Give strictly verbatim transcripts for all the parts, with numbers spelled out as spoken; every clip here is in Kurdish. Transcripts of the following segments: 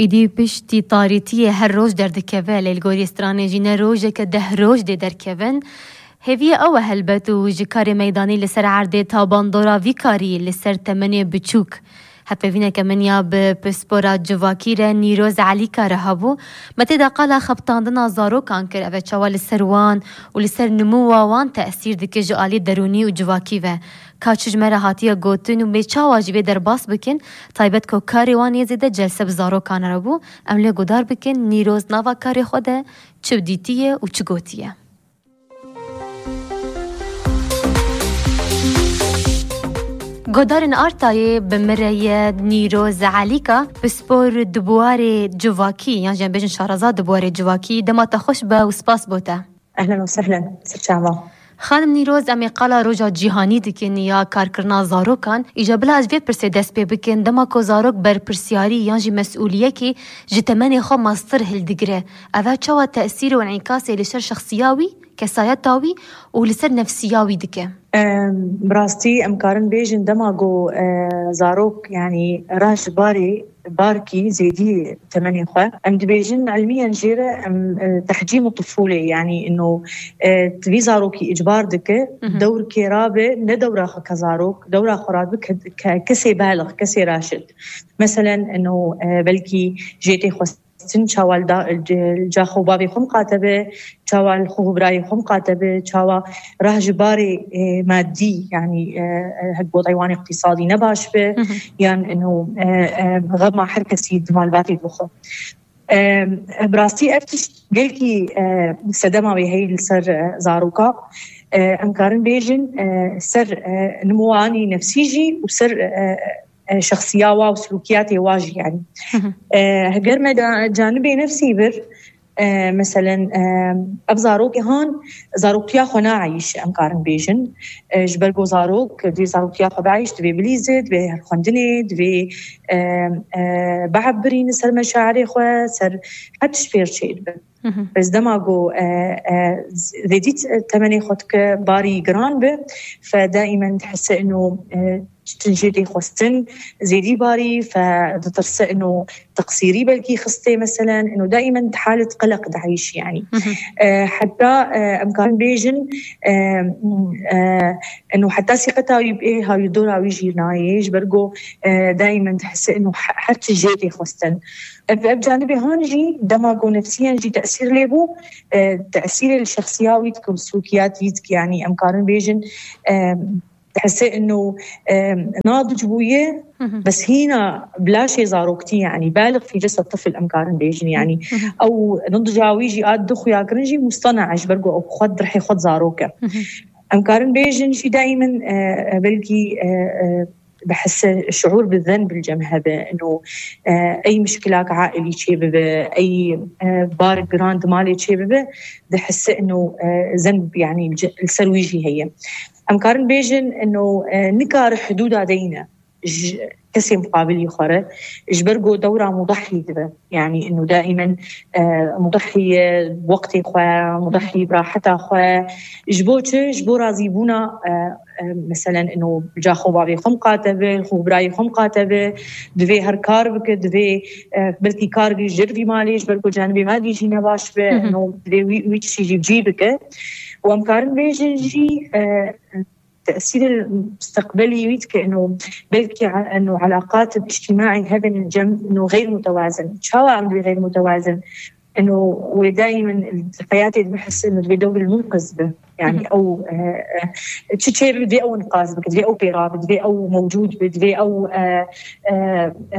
Îdî piştî tarîtiyê her roj derdikeve, lê li gorî stranê jî ne rojeke deh roj dê derkevin. Hêviyê ew e helbet û ji karê meydanî li ser erdê ta bandora vî karî li ser temenê biçûk. Hevpeyvîneke min ya bi pispora civakî re Nîroz Elîka re hebû. Me tê de qala xebitandina zarokan kir, ev e çawa li ser wan û li ser nimûwa wan tesîr dike ji alî derûnî û civakî ve. Ka çi ji me re hatiye gotin û bê çawa jî vê derbas bikin, taybet ku karê wan yê zêde celse bi zarokan re bû. Em lê guhdar bikin, Nîroz nava karê xwe de çi dîtiye û çi gotiye. Guhdarên Artayê bi min re ye Nîroz Elîka, pispor di buwarê civakî, yan jî em bêjin şareza di buwarê civakî, dema te xweş be û spas bo te. Ehlen û sehlen, serçava. Xanim Nîroz, em ê qala roja cîhanî dikin ya karkirina zarokan. Îca bila ez vê pirsê dest pê bikin, dema ku zarok berpirsiyarî yan jî mesûliyekê ji temenê xwe mastir hildigire, ev e çawa tesîr û enîkasê li ser şexsiya wî, kesayeta wî û li ser nefsiya wî dike? Em, bi rastî em karin bêjin dema ku, e, zarok, yanî reh ji barê barkî zêdî temenê xwe. Em dibêjin ilmiyen jê re em, e, tehcîm û tifûlê, yanî ino, e, vî zarokî îcbar dike, Mhm. dewrkê rabe, ne dewra xwe ke zarok, dewra xwe rabe ke, ke, kesê balix, kesê raşid. Meselen, ino, e, belkî jê tê xwestin çawa li da, li ca xwe bavê xwe miqate be, çawa li xwe birayê xwe miqate be, çawa rah ji barê, e, madî, yanî, e, e, hek wezîyetê wan îqtîsadî ne baş be, Mhm. yan ino, e, e, xema her kesî di malbatê bixwe. E, bi rastî ev tişt gelkî, e, sedema wê heye li ser, e, zaroka. E, em karin bêjin, e, ser, e, nimûanî nefsî jî û ser, e, e, şexsiya wa û silûkiyatê wa jî, yanî. Mhm. E, heger me da canibê nefsî bir, e, meselen, e, ev zarokê han zaroktiya xwe naeyîşe, em karin bêjin. E, ji ber ku zarok divê zaroktiya xwe bieyîş, divê bilîze, divê her xwendinê, divê, e, e, behf birîne ser meşairê xwe, ser her tişt fêr çêdibe. Mhm. Bes dema ku, e, e, zêdî temenê xwe dike barî giran be, fe daîmen dihese ino, e, çitin jê tê xwestin, zêdî barî, fe ditirse ino teqsîrî belkî xistê, meselen, ino daîmen di halet qeleq dieyîşî, yanî. Mhm. E, heta, e, em karin bêjin, e, e, ino heta sîqeta wî bi ê ha wî dora wî jî nayê, ji ber ku, e, daîmen dihese ino he-, her tişt jê tê xwestin. Ev, ev canibê han jî dema ku nefsiyen jî tesîr lê bû, e, tesîrê li şexsiya wî dike û silûkiyat wî dike, yanî em karin bêjin, e, dihese ino, e, nadic bûye, Mhm. bes hîna bi laşê zaroktî, yanî balix fî cesed tifl em karin bêjin, yanî Mhm. ew nidca wî jî a di xuyakirin jî mustena e, ji ber ku ew xwe di rihê xwe di zarok e. Mhm. Em karin bêjin jî daîmen, e, e, belkî, e, e, bihese şuur bi zenb li cem hebe, ino, e, ey mişkilak ailî çê bibe, ey, e, bar giran di malê çê bibe, dihese ino, e, zenb, yanî li ce-, li ser wî jî heye. Em karin bêjin ino, e, nikare hidûda deyne ji kesê muqabilî xwe re, ji ber ku dewra mudahî dibe. Yanî ino daîmen, e, mudahî ye wextê xwe, mudahî bi raheta xwe. Ji bo çi? Ji bo razîbûna, e, e, meselen ino ca xwe bavê xwe miqate be, xwe birayê xwe miqate be, divê her kar bike, divê, e, belkî kar bî ji vî malê, ji ber ku canibê madî jî ne baş be, Mhm. ino divê wî, wî tiştî jî bi cî bike. Û em karin bêjin jî, e, tesîrê musteqbelî wî dike, ino belkî, ino elaqat îctîmaî hebin cem, ino xeyr mutewazin. Çawa em dibê xeyr mutewazin? Ino wê daîmen di heyatê dibihese ino divê dewr munqiz be. Yanî Mhm. ew, e, e, çi çê bibe divê ew inqaz bike, divê ew pê rabe, divê ew mewcûd be, divê ew, e, e, e,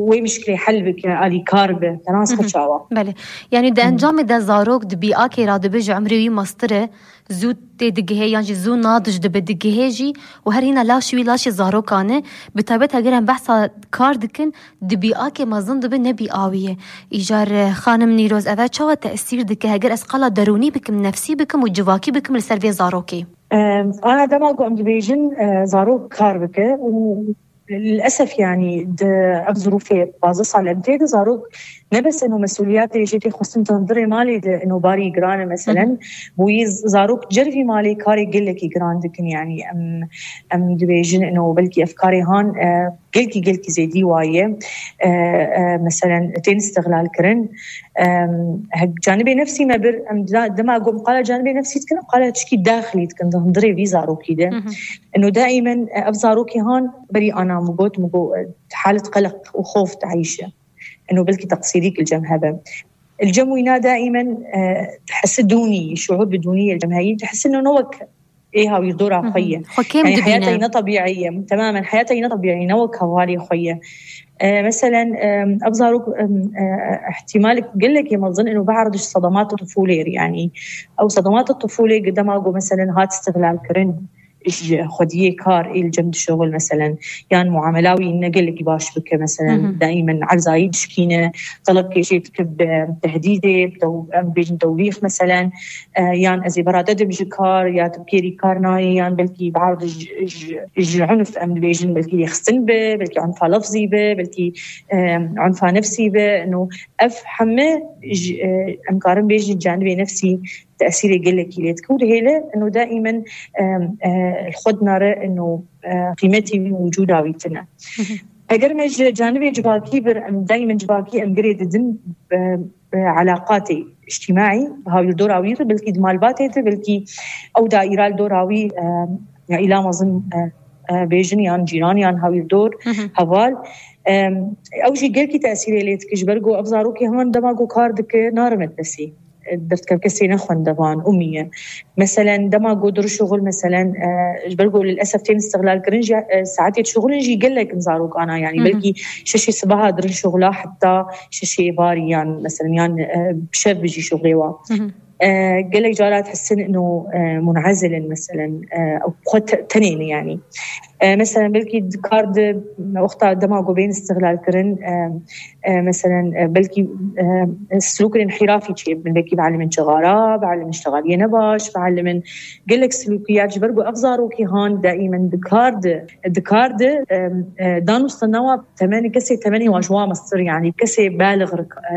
wê mişkilê hel bike, alîkar be. Te nas xwe Mhm. çawa? Belê. Yanî di Mhm. encamê de zarok di bîakê radibe ji umrê wî mastir e, zû tê digihê yan jî zû nadij dibe digihê jî û her hîna laşê wî laşê zarokan e. Bi taybet heger em behsa kar dikin, di bîakê mezin dibe ne bîawî ye. Îcar, e, xanim Nîroz, ev e çawa tesîr dike heger ez qala derûnî bikim, nefsî bikim û civakî bikim li ser vê zarokê? Em, ana dema ku em dibêjin, e, zarok kar bike û Lilesef, yanî di ev zirûfê pazdeh sal em tê de zarok ne bes eno mesûliyatê jê tê xwestin di hundirê malê de eno barî giran e, meselen, bo yê zarok cervî malê karê gelekî giran dikin, yanî em, em dibêjin eno belkî ev karê han, e, gelkî gelkî zêdî waye. E, e, meselen tên îstixlal kirin. E, hek canibê nefsî me bir, em da- dema ku em qala canibê nefsî dikin, em qala tişkî daxilî dikin di hundirê vî zarokî de. Eno daimen, e, ev zarokî han berî ana min got, min got, e, halet qeleq û xof dieyşe. Eno belkî teqsîrîk li cem hebe. Li cem wîna daimen, e, dihisi dûnî, şuur bi dûnî li cem heyî, dihisi no ne wek ê hawîrdora xwe ye. Xwe kêm Yani dibîne. Heyata yine tabiiye. Temamen heyata yine tabiiye, ne wek hevalê xwe ye. E, meselen, e, ev zarok, e, e, ihtimal gelekê mezin eno biardiş sedemat tufûlê, yani ew sedemat tufûlê dema ku meselen hat îstixlal kirin ji xwediyê kar ê li cem dişuxul meselen, yan muamela wî ne gelekî baş bike meselen, Hı hı. daimen erzayî dişkîne, telebkê jê dike bi tehdîdê, bi tew-, em bêjin tewbîx meselen, e, yan ez ê bera te dim ji kar, ya tu bi kêrî kar nayê, yan belkî biardiş ji, ji, ji unf em dibêjin, belkî lêxistin be, belkî unfa lefzî be, belkî, e, unfa nefsî be. No, ev heme ji, e, em karin bêjin canibê nefsî tesîrê gelekî lê dike û dihêle eno daimen, e, e, li xwe dinare eno, e, qîmetî wî wicûda wî tune. Eger me ji canibê civakî bir, em daimen civakî em girê didin, e, e, elaqatê îctîmaî, hawîrdora wî re, belkî di malbatê de, belkî ew daîra li dora wî, e, ya îla mezin, e, e, bêjin yan cîran yan hawîrdor, Hı hı. heval. E, ew jî gelkî tesîrê lê dike, ji ber ku ev zarokê heman dema ku kar dike, narimet desî. E, derdikeve kesê nexwendevan, umî ye. Meselen, dema ku dir şuxul, meselen, e, ji ber ku lilesef tên îstixlal kirin jî, e, saetê şuxulin jî gelek in zarokana, yani Hı hı. belkî şeşê sibaha dirin şuxula heta şeşê êvarî yan, meselen, yan, e, şev bijî şuxulê wa. Hı hı. E, gelek cara dihisin ino, e, munezil in, meselen, e, ew xwe te-, tenê ne, yani. E, meselen, belkî di kar di wexta dema ku bên îstixlal kirin, e, e, meselen, e, belkî, e, silûkên înhirafî çêbin, belkî bialimin çixara, bialimin şixaliyê nebaş, bialimin gelek silûkiyat, ji ber ku ev zarokî han daimen di kar di, di kar di, e, e, danûstana wa temenê kesê, temenê wa ji wa mestir, yani kesê baliq rik, e,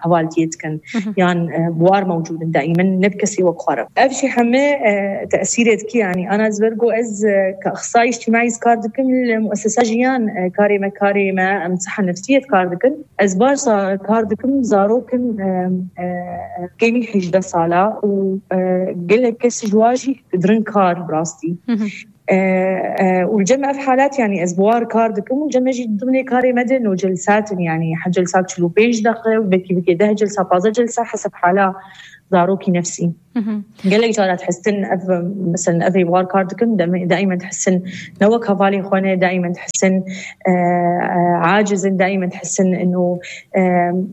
hevaltiyê dikin. Hı hı. Yan, e, bi war mewcûd in daimen, ne bi kesê wek xwe re. Ev jî heme, e, tesîrê dike, yani ana ez ber ku ez, e, ka ixtisayî îctîmaî ez kar dikim, li muessesa jiyan, e, karê me, karê me, em siha nefsiyê kar dikin. Ez baş za-, kar dikim, zarok in, e, e, kêmî hejdeh sala û, e, gelek kes ji wa jî dirin kar bi rastî. Hı hı. E, e, û li cem ev halat, yani ez bi war kar dikim û cem me jî dimnê karê me de no celsat in, yani heh celsa çil û pênc deqe, belkî bike deh celsa, pazdeh celsa, heseb hala zarokî nefsî. Hı hı. Gelek cara dihisin ev, meselen, ev ê war kar dikin, deme-, daimen dihisin ne wek hevalê xwe ne, daimen dihisin, e, e, aciz in, daimen dihisin ino, e,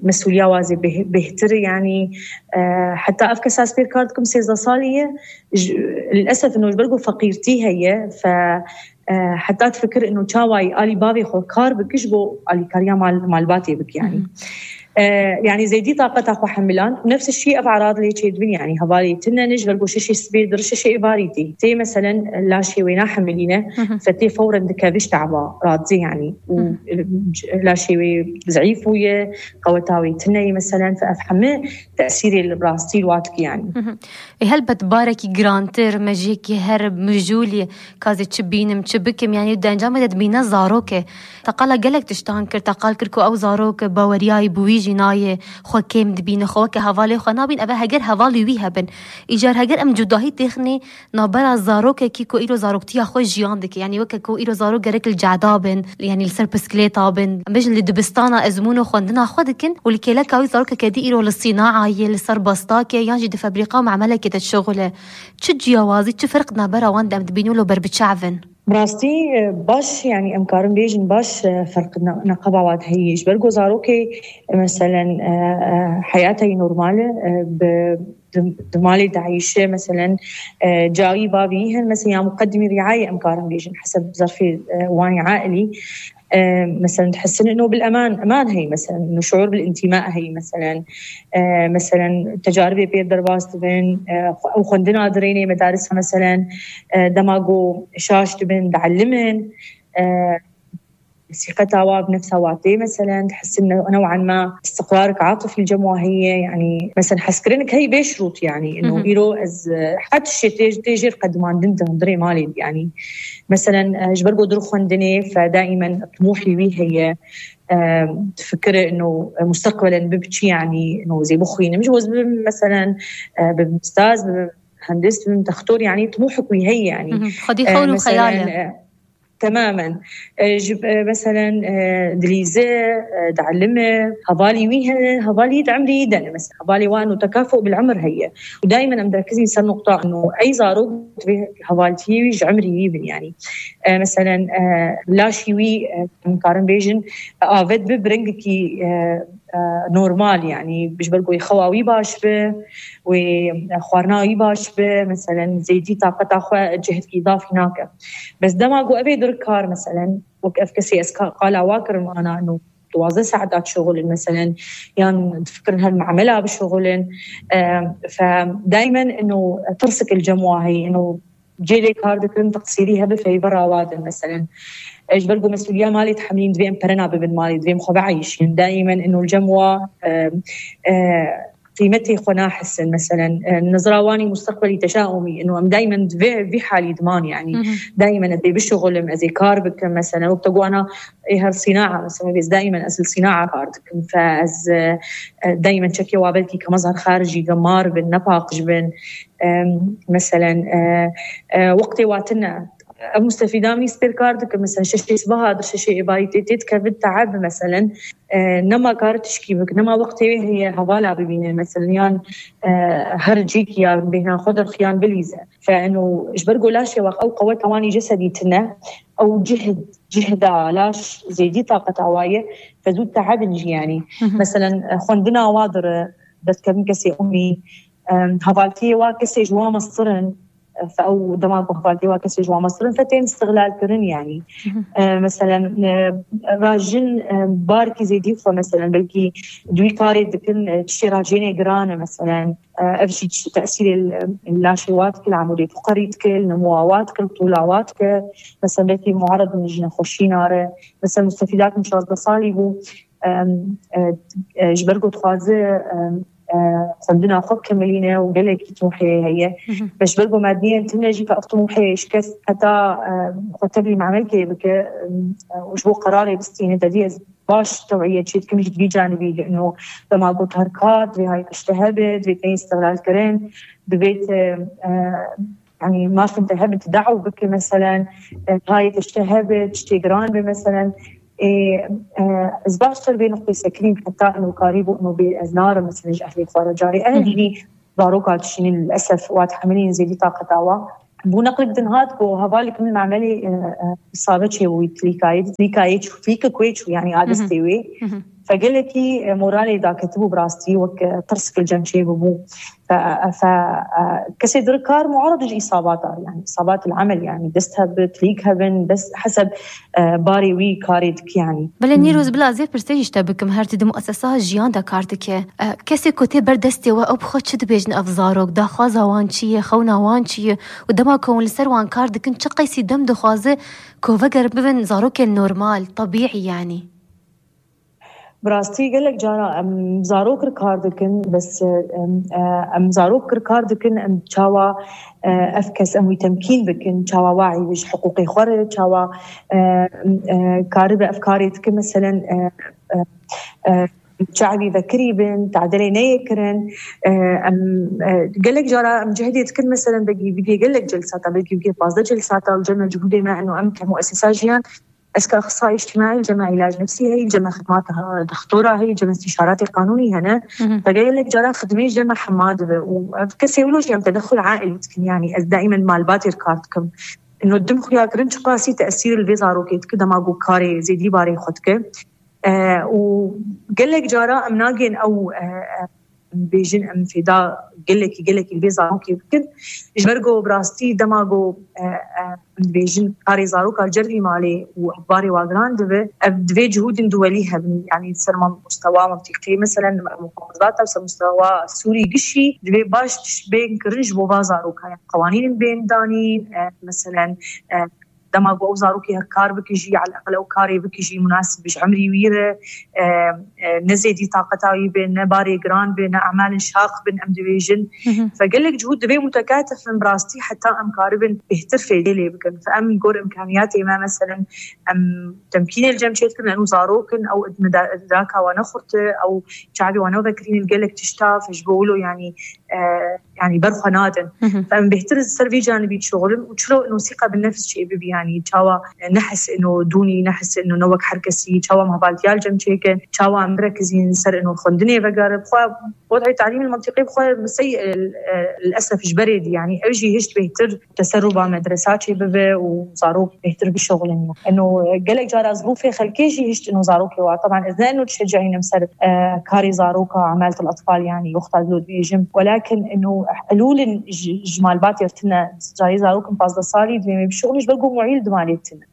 mesûliya wa zê bêh-, bêhtir e, yani, e, heta ev kesa ez pêr kar dikim sêzdeh salî ye, ji, lilesef ino ji ber ku feqîrtî heye, fe, e, heta difikir ino çawa yî alî bavê xwe kar bike ji bo alîkariya mal-, malbatê bike, yani. Hı hı. E, yani zêdî taqeta xwe hemilan. Nefs şî ev erad lê çêdibin, yani hevalê tine ne, ji ber ku şeşê sibê dir şeşê êvarî tê. Tê meselen laşê wê nahemilîne, Hı hı. fe tê fewren dikeve ji te'ba, radizê, yani. Û Hı hı. laşê wê zeîf bûye, qeweta wê tine ye, meselen, fe ev heme tesîrê li rastî li wa dike, yani. Hı hı. Ê, helbet barekî girantir, me ji yekî her mijûlî, ka ez ê çi bînim, çi bikim, yani di encamê de dibîne zarok e. Te qala gelek tiştan kir, te qal kir ku ew zarok baweriyayî bi wî jî nayê, xwe kêm dibîne, xwe weke hevalê xwe nabîn, ev e heger hevalî wî hebin. Îcar heger em cudahî têxinê navbera zarokekî ku îro zaroktiya xwe jiyan dike, yani weke ku îro zarok gerek li cehda bin, yani li ser pisklêta bin, em bêjin li dibistana ezmûn û xwendina xwe dikin û li kêleka wî zarokeke dî îro li sînaayê, li ser bastakê yan jî di febrîqa û memelekê de dişuxule. Çi ciyawazî, çi ferq navbera wan de em dibînin û li ber bi çav in? Bi rastî, e, baş, yani em karin bêjin baş, e, ferq ne-, neqeba wan heye. Ji ber ku zarokê, e, meselen, e, e, heyata wî normal e, e, bi, di, di malê dieyşe, meselen, e, cayî bavî hin, mesela ya muqedimî riayê em karin bêjin, heseb zerfê, e, wan ailî. E, meselen, dihisin ino bil eman, eman heye, meselen, ino şuur bil întima heye, meselen, e, meselen, tecaribê pêr derbas dibin, e, xwe-, ew xwendina dirênê medarisa, meselen, e, dema ku şaş dibin, dielimin, e, ثقتها وا بنفسها وا تê, مثلا, تحسن نوعا ما استقرارك عاطفي الجموة هي, يعني, مثلا, حسكرنك هي بيش شروط, يعني, إنه إيرو أز حد الشيء تيج-, تيجي قد ما ندنت هندري مالي, يعني, مثلا, آه، جبرقو درخون دني, فدائما طموحي وي هي, آم، تفكر إنه مستقبلا ببكي, يعني, إنه زي بخوي نمجوز بم-، مثلا, آه، بمستاز، بمهندس، بمدكتور, يعني, طموحك وي هي, يعني. خدي آه، خول مثلا, وخيالة. آه، تماما. آه، جب-، آه، مثلا, آه، دليزة, آه، دعلمة، هبالي ويها، هبالي دعمري دنا, مثلا, هبالي وانو تكافؤ بالعمر هي. ودائما أم دركزي سر نقطة إنه أي زاروك تبي هبالتي ويج عمري يبن, يعني. آه، مثلا, آه، لا شيوي, آه، مكارن بيجن, آه، آفت ببرنجكي, آه، آه، نورمال, يعني, بيش برقو يخواوي باش به, وخوارناوي باش به, مثلا, زيدي طاقة أخوة جهد إضافي ناكه. بس دما قو أبي در کار, مثلا, وك أفكسي أسكا قال واكر أنا إنه دوازدە ساعات شغل, مثلا, يعني, تفكر هالمعملة بشغل. آم، فدايما إنه ترسك الجموة هي إنه جيلي کار دکن تقصیری هبه فیبر آوادن, مثلا, ايش برقو مسؤولية مالي تحملين دویم پرنا ببن مالي دویم خو بعيش, يعني, دائما إنه الجموة, آم، آه، قيمتي خو ناحسن, مثلا, آه، نظراواني مستقبلي تشاؤمي, إنه أم دائما في, في حالي ضمان, يعني, دائما أزي بشغل, أزي كار بكم, مثلا, وقت قوانا إيه هالصناعة, مثلا, بس دائما أزل صناعة كار دكم, فأز, آه، دائما شكي وابلكي كمظهر خارجي قمار بن, نفاقش بن, آم، مثلا, آه، آه، وقتي واتنا مستفيدة من سبير كاردك, مثلا, ششي صباح هذا ششي إباي تيت كفت تعب, مثلا, آه، نما كارت شكيبك, نما وقتي هي هوالا ببينه, مثلا, يان, آه، هرجيك يا بينا خضر خيان بليزة. فإنه إيش برقو لا شيء وقت أو قوة تواني جسدي تنا, أو جهد, جهد لاش زيدي طاقة هواية, فزود تعب نجي, يعني. مثلا, آه، خندنا واضر, بس كم كسي أمي, آم، هبالتي وا کەسێ ji wan mestir in, fe ew dema ku hevaltê wa kesê ji wan mestir in, fe tên îstixlal kirin, yanî. E, meselen, e, rajin, e, barkî zêdî xwe, meselen, belkî duyî karê dikin, e, tiştê rajênê giran e, meselen, e, ev jî tesîrê li, li laşê wa dike, li emûrê fiqerî dike, li nimowa wa dike, li tûla wa dike, meselen, belkî muared in ji nexweşî nare, meselen, mustefîdakim şazdeh salî bû, em, e, e, ji ber ku dixwaze, em, e, xwendina xwe bikemilîne û gelekî tûhê heye. Hı hı. Be ji ber ku madiyen tune jî, ka ev tûhê ji kes heta, e, xwe tevlî memelkê bike, em, e, û ji bo qerarê bistîne, te dî ez baş tewîye çê dikim ji vî canibî, li ino dema got her ka divê hay tişte hebe, divê tên îstixlal kirin, divê te, e, yanî mafin te hebin, te daw bike, meselen, e, hay tişte hebe, tiştê giran be, meselen, ê, e, ez baştir vê nuqtê sekinîm, heta ino karî bû, ino bê ez narim, meselen, ji ehlê xwe re carê. Hı hı. Ev jî zaroka dişînin, lilesef, wa dihemilînin zêdî taqeta wa. Bû neqlik din hat ku hevalek min memelê, e, e, îsabe çêbû, wî tilîkayê, tilîkayê çû, tilîke kuê çû, yanî a Hı hı. destê wê. Hı hı. Fe gelekî, e, moralê daketibû bi rastî, wek, e, tirsik li cem çêbûbû. Fe, fe, e, kesê dir kar muarid ji îsabata, yanî îsabat el emel, yanî dest hebit, lîk hebin, bes heseb, e, barê wî karê dike, yanî. Belê, Hmm. Nîroz, bila ez ê pirsê jî ji te bikim, her tu di muesesa jiyan de kar dike. E, kesê ku tê ber destê we, ew bi xwe çi dibêjin ev zarok? Daxwaza wan çi ye? Xewna wan çi ye? Û dema ku hûn li ser wan kar dikin, çi qeysî dem dixwaze ku veger bibin zarokên normal, tebîî, yanî? Bi rastî gelek cara em zarok li kar dikin, bes, em, e, em zarok li kar dikin, em çawa, e, ev kes em wî temkîn bikin, çawa wa ji hiqûqê xwe re, çawa, e, e, karibe ev karê dikin, meselen, e, e, e, çavî vekirî bin, tadilê neyê kirin, e, em, e, gelek cara em cehdê dikin, meselen, begî bigê gelek celsata, belkî bigê pazdeh celsata, li cem cihûdê me, eno em ke muesesa jiyan, eska axsayî îctimaî, cema îlac nefsî heye, cema xidmata dextora heye, cema îstîşaratê qanûnî hene. Hı hı. Te gelek cara xidmê cema hema dibe û ev kesê wilo jî em tedexul aîlî dikin, yanî ez daîmen malbatê kar dikim. Ino dim xuya kirin çiqasî tesîr li vê zarokê dike, dema ku karê zêdî barê xwe dike. E, û gelek cara em nagên ew, e, e, bêjin em fêda gelekî, gelekî li vê zarokê bikin. Ji ber ku bi rastî dema ku, e, e, em dibêjin karê zaroka li cervî malê û ev barê wa giran dibe, ev divê cihûdên duwelî hebin. Yanî ser mam-, mustewa mintîqî, meselen, muhafazata û ser mustewa Sûrî gişî divê baş tişt bên kirin ji bo va zaroka. Yanî qewanîn bên danîn, e, meselen, e, Dema ku ew zarokê kar bike jî, eleqel ew karê bike jî munasib ji emrî wî re, e, e, ne zêdî taqeta wî be, ne barê giran be, ne emalên şaq bin, em dibêjin. Fe gelek cihûd divê mutekatef bin bi rastî heta em karibin bêhtir fêdê lê bikin. Fe em gor imkaniyatê me, meselen, em temkînê li cem çêdikin, em zarok in, ew daka wan ne xurt e, ew çavê wan ne vekirîn li gelek tişta, fe ji bo wilo, yanî, e, yanî berxwe nadin. Fe em bêhtir ser vî canibî dişuxulin û çilo ino sîqa bi nefs çê bibî, yanî çawa nehis ino dûnî, nehis ino ne wek her kesî, çawa mehbaltiya li cem çêkin, çawa em birekizîn ser ino xwendinê vegere. Bixwe, wad'ê talîmî mentiqî bixwe sey, e, e, lilesef ji berê dî, yanî ew jî hişt bêhtir teseruba medresa çê bibe û zarok bêhtir bişuxulin. Ino, e, gelek cara zirûfê xelkê jî hişt ino zarokê wa. Teban ez ne ino dişecihînim ser, e, karê zaroka, emalet el-atfal, yanî wexta dilo dibêjim. Welakin ino helûlin ji, ji malbatê re tine, carê zarokin pazdeh salî divê me bişuxulin, ji ber ku muîl di malê tine.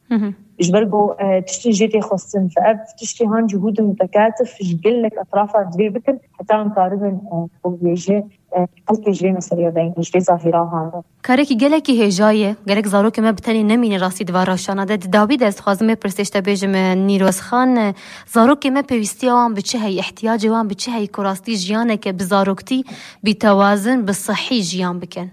Ji ber ku, e, tiştên jê tê xwestin. Fe ev tiştê han cihûdin mutekatef ji gelek etrafa divê bikin, heta em karibin, e, ew bêje, e, xelkê ji vê meseleyê ve, ji vê zahîra han. Karekî gelekî hêja ye. Gerek zarokê me bi tenê nemîne rastî di van rewşana de. Di dawî de ez dixwazim vê pirsê ji te bêjim, e, Nîroz Xan, e, zarokê me pêwîstiya wan bi çi heyî, ihtiyacê wan bi çi heyî ku rastî jiyaneke bi zaroktî, bi tewazin, bi sihî jiyan bikin?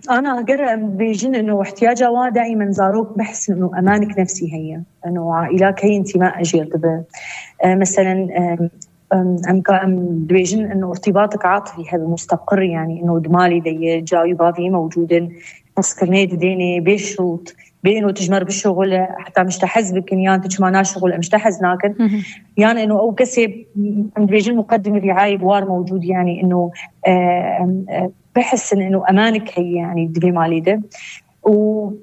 Ana, ger em bêjin ino ihtiyaca wan daîmen zarok behsin ino emanik nefsî heye. Ino aîla key întima jêr dibe. E, meselen, e, em, em ka em dibêjin ino irtîbatik atifî hebe mustaqir, yanî ino di malê de ye, cayî bavî mewcûd in, hezkirinê didênê, bê şirût, bê ino tu ji me re bişuxule, heta em ji te hez bikin, yan tu çima naşuxule, em ji te hez nakin. Yan ino ew kesê, em dibêjin muqedim riayê bi war mewcûd, yanî ino, e, em, e, bihisin ino emanik heye, yanî di vê malê de. Û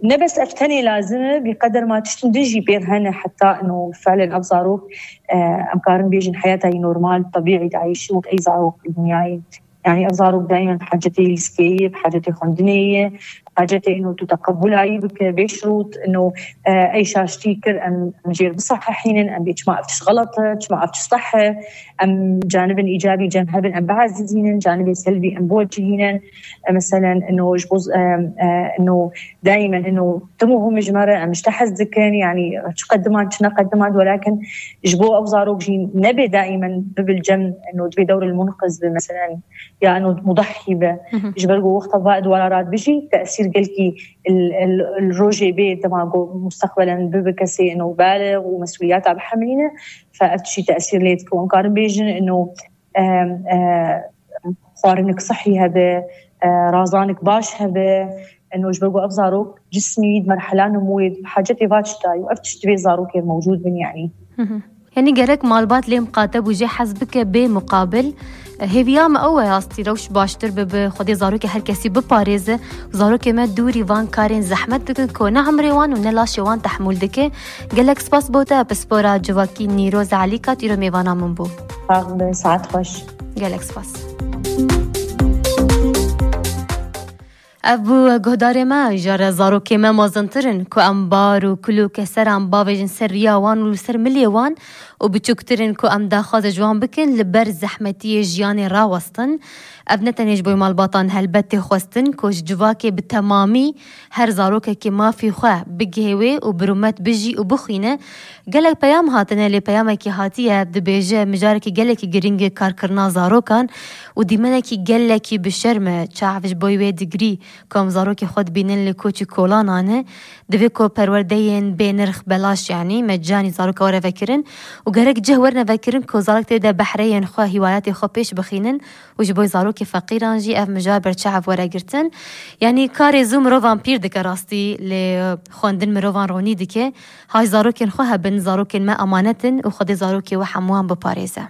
ne bes ev tenê lazim e, bi qeder ma tiştin din jî pêr hene, heta ino fiilen ev zarok, e, em karin bêjin heyata wî normal, tebîî diayîşî wek ey zarok li dinyayê. Yanî ev zarok daîmen hacetê lîsteyê ye, bi hacetê xwendinê ye, hacetê ino tu teqebulayî bike, bê şirût, ino, e, ey şaştî kir, em, em jêr bisehehînin, em bê çima ev tişt xelet e, çima ev tişt seh e, em canibên îcabî cem hebin, em biezîzînin, canibê selbî em biwecihînin. E, meselen, ino ji bo, e, e, ino daîmen ino tim û hûm ji me re, em ji te hez dikin, yanî çi qediman, çi neqediman, welakin ji bo ew zarok jî nebe daîmen bibil cem, ino dibê dewr el munqiz be, meselen, ya ino mudahî be. Ji ber ku wexta va di wala radibijî, tesîr gelkî il, il, il rojê bê dema ku mustaqbelen bibe kesê ino baliq û mesûliyata bihemilîne, fe ev tiştî tesîr lê dike. Em karin bêjin ino, e, e, xwarinik sihî hebe, e, razanik baş hebe, ino ji ber ku ev zarok cismî di merhela nimûyê di hacetê va tişta ye û ev tişt divê zarokê mewcûd bin, yanî. Yanî gerek malbat lê miqate bû jê hez bike bê muqabil. Hêviya me ew e, astî rewş baştir bibe, Xwedê zarokê her kesî biparêze. Zarokê me dûrî van karên zehmet dikin ku ne emrê wan û ne laşê wan tehmûl dike. Gelek spas bo te, pispora civakî Nîroz Elîka, îro mêvana min bû. Sax be, saet xweş. Gelek spas. Ev bû guhdarê me, ji re zarokê me mezintir in, ku em bar û kulûke ser an bavêjin ser riya wan û li ser milê wan û biçûktir in, ku em daxwaze ji wan bikin, li ber zehmetiyê jiyanê rawestin. Ev ne tenê ji bo malbatan helbet tê xwestin, ku ji civakê bi temamî her zarokekî mafî xwe bigihê wê û bi rûmet bijî û bixwîne. Gelek peyam hatine, lê peyamekî hatiye, dibêje mijarekî gelekî girîng e karkirina zarokan û dîmenekî gelekî bi şerm e. Çav ji bo wê digirî ku em zarokê xwe dibînin li koç û kolanan e. Divê ku perwerdeyên bê nirx, belaş, yanî mecanî zaroka were vekirin û gerek cih werine vekirin ku zarok tê de behreyên xwe, hîwayatê xwe pêş bixînin û ji bo zarokê feqîran jî ev mijar berçav were girtin. Yanî karê zû mirovan pîr dike rastî, lê xwendin mirovan ronî dike. Hay zarokên xwe hebin, zarokên me emanet in û Xwedê zarokê we hemûyan biparêze.